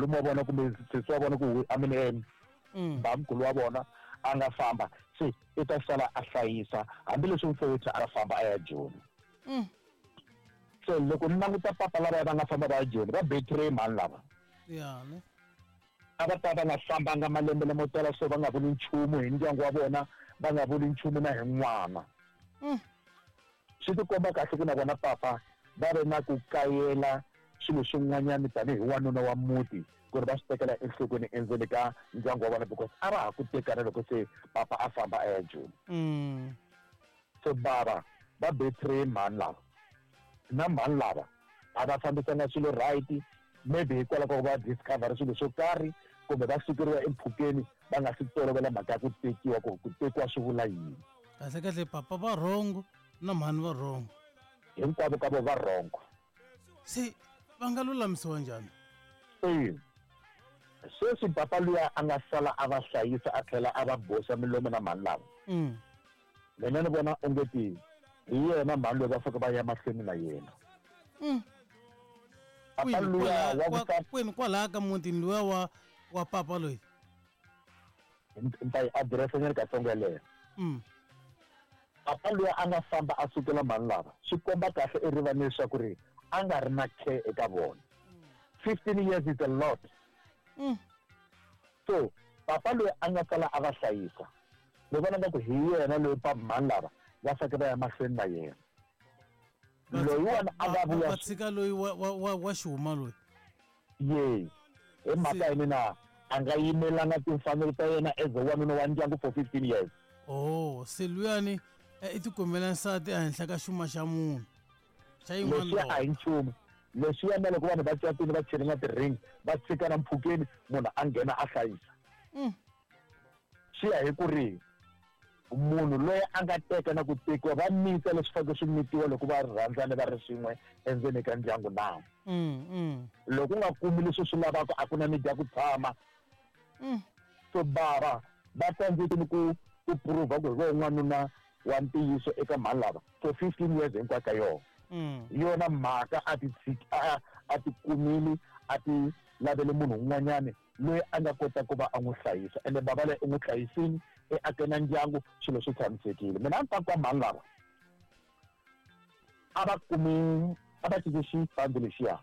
Malume wa vona kumbe sesi wa vona ku I mean bamkhulu wa vona a nga famba se i ta sala a hlayisa hambileswi mfowethu a famba a ya Joni. Se loko ni languta papa lavaya va nga famba va ya Joni va betray mhani lava. Ya ne. A va ta va nga fambanga malembe lamo tala so va nga vuli nchumu hi ndyangu wa vona va nga vuli nchumu na hi n'wana. Swi tikomba kahle ku na vona papa va ve na ku kayela swilo swin'wanyana tanihi wanuna wa muti ku ri va swi tekela enhlokweni endzeni ka ndyangu wa vona because a va ha ku tekana loko se papa a famba a ya Joni. So bava va betray mhani lava na mhani lava a va fambisanga swilo right maybe hikwalaho ka ku va discover swilo swo karhi kumbe va sukeriwa empfhukeni va nga si tolovela mhaka ya ku tekiwa ku ku tekiwa swi vula yini. Kahle kahle papa va wrong na mhani va wrong. Hinkwavo ka vo va wrong. Se va nga lulamisiwa njhani? E sweswi papa luya a nga sala a va hlayisa a tlhela a va boxa milomo na mhani lava. Mina ni vona onge ti hi yena mhani loyi va faneke va ya mahlweni na yena. Papa luya wa ku Kwini kwalaya ka mutini luya wa papa loyi? Ni ta yi adirese nyana katsongo yeleyo. Papa luya a nga famba a sukela mhani lava swi komba kahle erivaleni leswaku ri a nga ri na care eka vona. 15 years is a lot. So papa loyi a nga sala a va hlayisa ni vona nga ku hi yena loyi pa mhani lava va faneke va ya mahlweni na yena. Loyiwani a nga vuya Va tshika loyi wa xihuma loyi. Yes. Hi mhaka yini na a nga yimelanga timfanelo ta yena as a wanuna wa ndyangu for 15 years. Oh, se luyani i tikumela nsati ehenhla ka xuma xa munhu. Xa yin'wana Leswiya a hi nchumu. Leswiya na loko vanhu va catile va chele na ti-ring va tshikana mpfhukeni munhu a nghena a hlayisa. Swi ya hi ku ri munhu loyi a nga teka na ku tekiwa va mita leswi faneleke swi mitiwa loko va rhandzane va ri swin'we endzeni ka ndyangu na. Loko u nga kumi leswi swi lavaka a ku na need ya ku tshama. So bava va tsandzekile ku prove ku hi vona n'wanuna wa ntiyiso eka mhani lava for 15 years hinkwayo ka yona. Hi yona mhaka a ti tshiki a ti kumile a ti lavele munhu un'wanyani loyi a nga kota ku va a n'wi hlayisa ende bava loyi u n'wi hlayisile i ake na ndyangu swilo swi tshamisekile. Mina a ni ta ku ka mhani lava a va kumi a va cinci xipandi lexiya.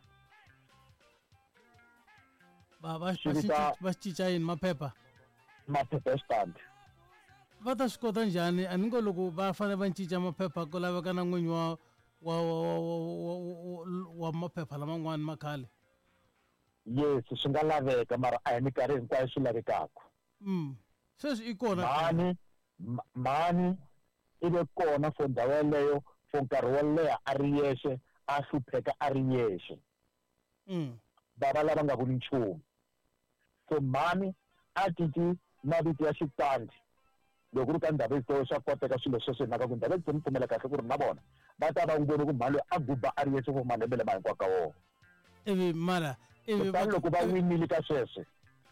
Va va cinca yini maphepha? Maphepha ya xipandi. Va ta swi kota njhani? A ni ngo loko va fanele va cinca maphepha ku laveka na n'winyi wa maphepha laman'wani ma khale. Yes, swi nga laveka mara a hi minkarhi hinkwayo swi lavekaka. Sweswi i kona. Mhani mhani i ve kona for ndhawu yeleyo for nkarhi wo leha a ri yexe a hlupheka a ri yexe. Bava lava nga vuli nchumu. So mhani a cinci mavito ya xitandi loko ku ri ka Ndhavezitha swa koteka swilo sweswo hi mhaka ku Ndhavezitha ni pfumela kahle ku ri na vona va ta va n'wi vone ku mhani loyi a guba a ri yexe for malembe lama hinkwawo ka wona. Ivi mara ivi Kutani loko va winile ka sweswo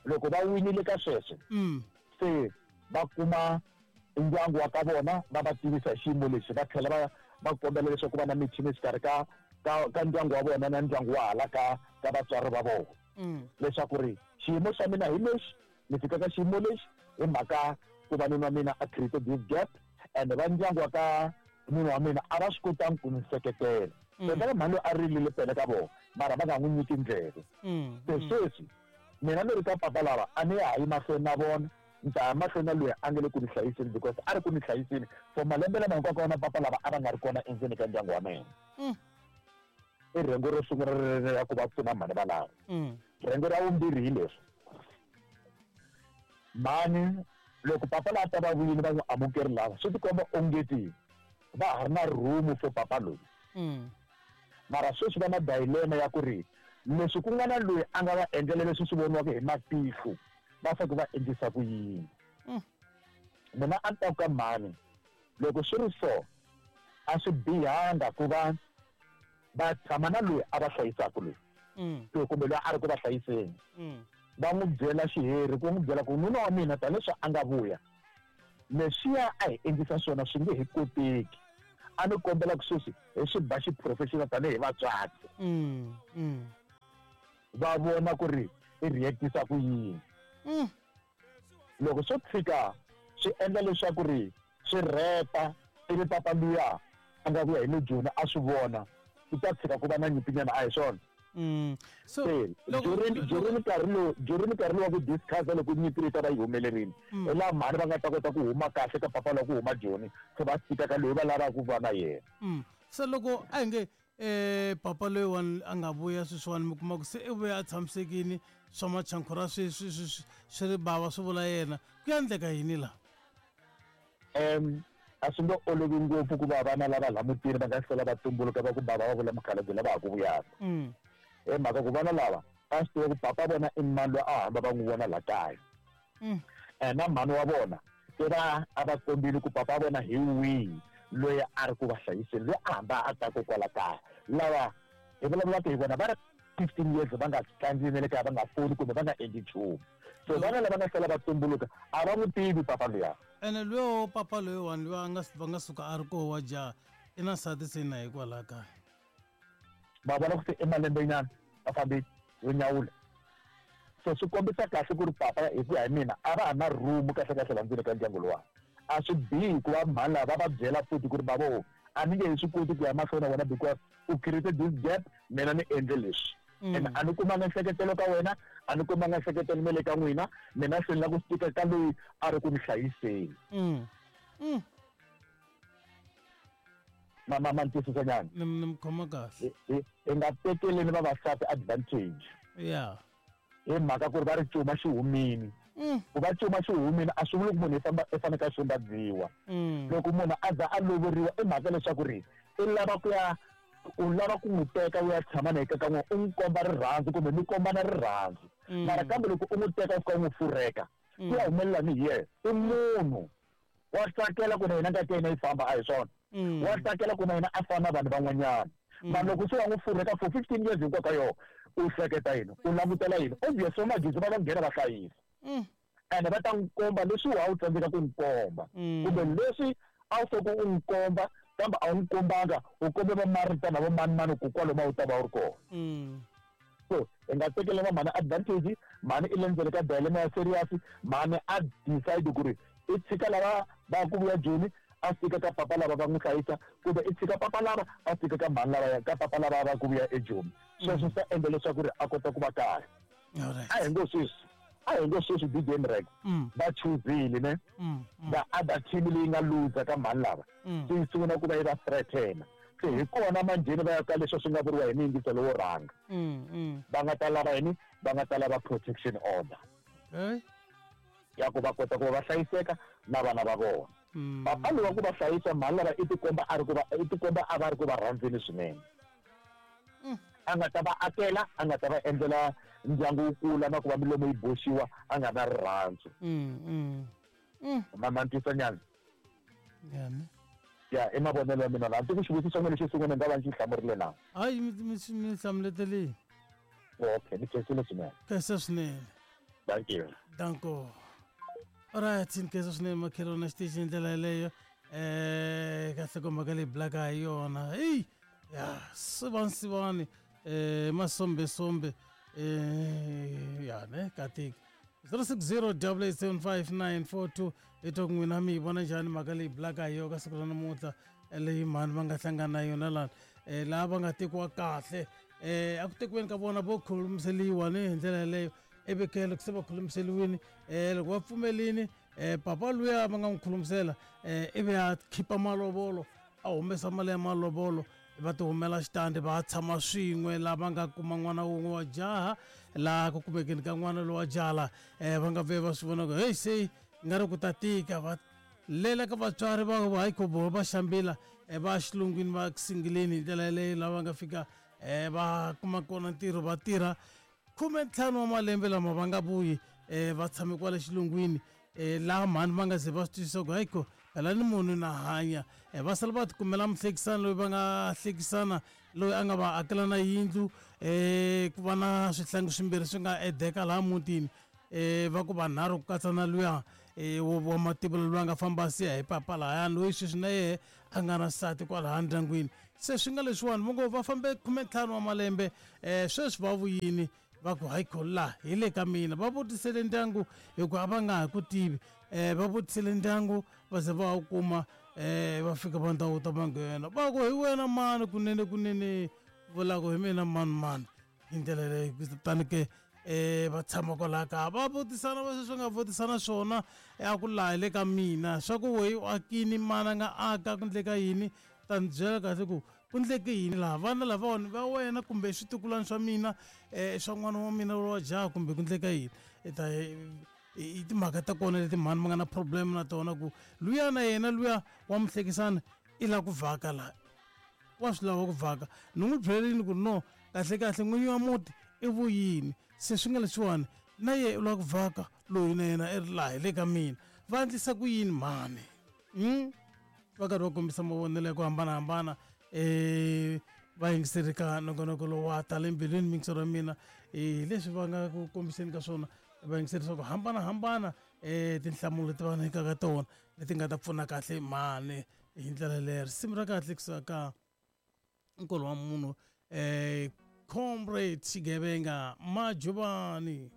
loko va winile ka sweswo se va kuma ndyangu wa ka vona va va tivisa hi xiyimo lexi va tlhela va va kombela leswaku ku va na meeting exikarhi ka ka ka ndyangu wa vona na ndyangu wa hala ka ka vatswari va vona leswaku ri xiyimo xa mina hi lexi ni fika ka xiyimo lexi hi mhaka ku va nuna wa mina a create this gap and va ndyangu wa ka nuna wa mina a va swi kotangi ku ni seketela. Tota mhani loyi a rilile pele ka vona mara va nga n'wi nyiki ndleve. Se sweswi mina ni ri ka papa lava a ni ya ha yi mahlweni na vona ni ta ya mahlweni na loyi a nga le ku ni hlayiseni because a ri ku ni hlayiseni for malembe lama hinkwawo ka wona papa lava a va nga ri kona endzeni ka ndyangu wa mina. I rhengu ro sungula ri ya ku va pfuna mhani valavo. Rhengu ra vumbirhi hi leswi mhani loko papa laha ta va vuyile va n'wi amukeri lava swi tikomba ongeti va ha ri na room for papa loyi. Mara sweswi va na dilemma ya ku ri leswi ku nga na loyi a nga va endlela leswi swi voniwaka hi matihlo va fanele va endlisa ku yini. Mina a ni ta ku ka mhani loko swi ri so a swi bihanga ku va va tshama na loyi a va hlayisaka loyi kumbe loyi a ri ku va hlayiseni. Va n'wi byela xiheri ku n'wi byela ku nuna wa mina tanihileswi a nga vuya leswiya a hi endlisa swona swi nge he koteki. A ni kombela ku sweswi hi swi ba xiprofessional tanihi vatswatsi. Va vona ku ri i reactisa ku yini. Loko swo tshika swi endla leswaku ri swi rhepa ivi papa luya a nga vuya hi le Joni a swi vona, ku ta tshika ku va na nyimpinyana, a hi swona? So Se loko during during nkarhi lowu during nkarhi lowu wa ku discuss loko nyimpi leyi ta va yi humelerile, hi laha mhani va nga ta kota ku huma kahle ka papa lwa ku huma Joni, se va fika ka loyi va lavaka ku va na yena. Se loko a hi nge papa loyiwani a nga vuya sweswiwani, mi kuma ku se i vuya a tshamisekile, swa machankhura swi ri bava swi vula yena, ku ya endleka yini laha? A swi nge olovi ngopfu ku va vana lava laha mutini va nga hlwela va tumbuluka va ku bava va vula mukhalabye lava ha ku vuyaka. Hi mhaka ku vana lava va swi tiva ku papa vona i mani loyi a hamba va n'wi vona laha kaya. Na mhani wa vona se va a va kombile ku papa vona hi wihi loyi a ri ku va hlayiseni, loyi a hamba a ta kwala kaya. Lava hi vulavulaka hi vona va ri 15 years va nga tlangi na le kaya, va nga foni kumbe va nga endli nchumu. So vana lava nga sala va tumbuluka a va n'wi tivi papa luya. Ene luya papa loyiwani luya a nga va nga suka a ri koho wa jaha i na nsati se na hikwalaho kaya. Va vona ku se i malembenyana va fambile yo nyawula. So swi kombisa kahle ku ri papa hi ku ya hi mina a va ha na room kahle kahle la ndzeni ka ndyangu luwa. A swi bihi ku va mhani lava va va byela futhi ku ri bavo a ni nge he swi koti ku ya mahlweni na wena because u created this gap, mina ni endle leswi. And a ni kumanga nseketelo ka wena, a ni kumanga nseketelo na le ka n'wina, mina se ni lava ku stika ka loyi a ri ku ni hlayiseni. Ma ni twisisa nyana? Ni mi khoma kahle. Hi nga tekeleni vavasati advantage. Hi mhaka ku ri va ri cuma xi humini. Ku va cuma xi humini a swi vuli ku munhu i fanele a xumbadziwa. Loko munhu a za a lovoriwa i mhaka leswaku ri i lava ku ya, u lava ku n'wi teka u ya tshama na yena ka n'wina, u n'wi komba rirhandzu kumbe mi kombana rirhandzu. Mara kambe loko u n'wi teka u fika u n'wi fureka, ku ya humelela ni hi yena. I munhu wa tsakela ku na yena ngati ya yena yi famba, a hi swona? Wa tsakela ku na yena a fana na vanhu van'wanyana. Mara loko se wa n'wi fureka for 15 years hinkwayo ka yona, u hleketa yini? U langutela yini? Obvious va magezi va va nghena va hlayisa. Ene va ta n'wi komba leswi wa wu tsandzeka ku n'wi komba. Kumbe leswi a wu fanele u n'wi komba kambe a wu n'wi kombanga, u kombe va Marita na vo mani mani ku kwalomu a wu ta va u ri kona. So hi nga tekela va mhani advantage, mhani i le ndzeni ka dilemma ya serious, mhani a decide ku ri i tshika lava va ku vuya Joni a fika ka papa lava va n'wi hlayisa, kumbe i tshika papa lava a fika ka mhani lava ka papa lava va ku vuya eJoni. Sweswo swi ta endla leswaku ri a kota ku va kahle. A hi ngo sweswi, a hi ngo sweswi DJ Mrek va chuzile ne the other team leyi nga loser ka mhani lava se yi sungula ku va yi va threaten. Se hi kona manjheni va ya ka leswi swi nga vuriwa hi miyingiso lowo rhanga. Va nga ta lava yini? Va nga ta lava protection order. Ya ku va kota ku va va hlayiseka na vana va vona. Papa loyi wa ku va hlayisa mhani lava i tikomba a ri ku va, i tikomba a va ri ku va rhandzeni swinene. A nga ta va akela, a nga ta va endlela ndyangu wu kula na ku va milomo yi boxiwa, a nga na rirhandzu. Ma ni twisa nyana? Ya, i mavonelo ya mina laha. Ndzi ku xivutiso xa n'wina lexo sungula ni nga va ni xi hlamurile na? Hayi, mi hlamuletelile. Okay, ni khensile swinene. Khensa swinene. Thank you. Danko. Alright, ni khensa swinene makhelwani xitichi hi ndlela yeleyo. Ka nhlokomhaka leyi bulaka hi yona. Hey, ya, sivani sivani, masombesombe, ya ne katika. 060 875 942 hi twa ku n'wina mi yi vona njhani mhaka leyi bulaka hi yona ka siku ra namuntlha, leyi mhani va nga hlangana na yona lani, laha va nga tekiwa kahle, a ku tekiweni ka vona vo khulumiseliwa ni hi ndlela yeleyo. Ivi ke loko se va khulumiseliwini, loko va pfumelini, papa luya va nga n'wi khulumisela, ivi a khipa malovolo, a humesa mali ya malovolo, va ti humela xitandi va tshama swin'we laha va nga kuma n'wana wun'we wa jaha. Laha ku kumekeni ka n'wana lowa jaha laha, va nga ve va swi vona ku heyi se nga ri ku ta tika, va lela ka vatswari va hayi ku va xambila, va xilungwini va singileni hi ndlela yeleyo. Laha va nga fika, va kuma kona ntirho, va tirha 15 wa malembe lama va nga vuyi, va tshame kwale xilungwini, laha mhani va nga ze va swi twisisa ku hayi ko phela ni munhu na hanya. Va sala va tikumela muhlekisani loyi va nga hlekisana, loyi a nga va akela na yindlu, ku va na swihlangi swimbirhi swi nga edeka laha mutini, va ku vanharhu ku katsa na luya, wa mativula loyi a nga famba a siya hi papa lahayani, loyi sweswi na yehe a nga na nsati kwalaya ndyangwini. Se swi nga leswiwani va ngo va fambe 15 wa malembe, sweswi va vuyini. Va ku hayi la hi le ka mina. Va vutisele ndyangu hikuva a va nga ha ku tivi. Va vutisele ndyangu va ze va wu kuma, va fika va ndhawu ta va nghena, va ku hi wena mani kunene kunene, vula ku hi mina mani mani hi ndlela leyi. Kutani ke va tshama kwalaha kaya va vutisana, va sweswi nga vutisana swona a ku laha hi le ka mina, swa ku weyi u akini mani a nga aka, ku ndleka yini, ta ni byela kahle ku ku ndleke yini laha, vana lavawani va wena kumbe switukulwana swa mina, swa n'wana wa mina wa jaha, kumbe ku ndleka yini. I ta i timhaka ta kona leti mhani ma nga na problem na tona, ku luya na yena luya wa muhlekisani i lava ku vhaka laha, wa swi lava ku vhaka. Ni n'wi byelini ku no kahle kahle n'winyi wa muti i vuyini, se swi nga leswiwani na ye u lava ku vhaka, loyi na yena i ri laha hi le ka mina, va endlisa ku yini mhani? Va karhi va kombisa mavonelo ya ku hambanahambana. Va yingiseri ka nongonoko lowu wa tala embilwini, miyingisero ya mina hi leswi va nga ku kombiseni ka swona vayingiseri swa ku hambanahambana, tinhlamulo leti va nyikaka tona leti nga ta pfuna kahle mhani hi ndlela leyo. Risimu ra kahle kusuka ka nkolo wa munhu, comrade Xigevenga Majubani.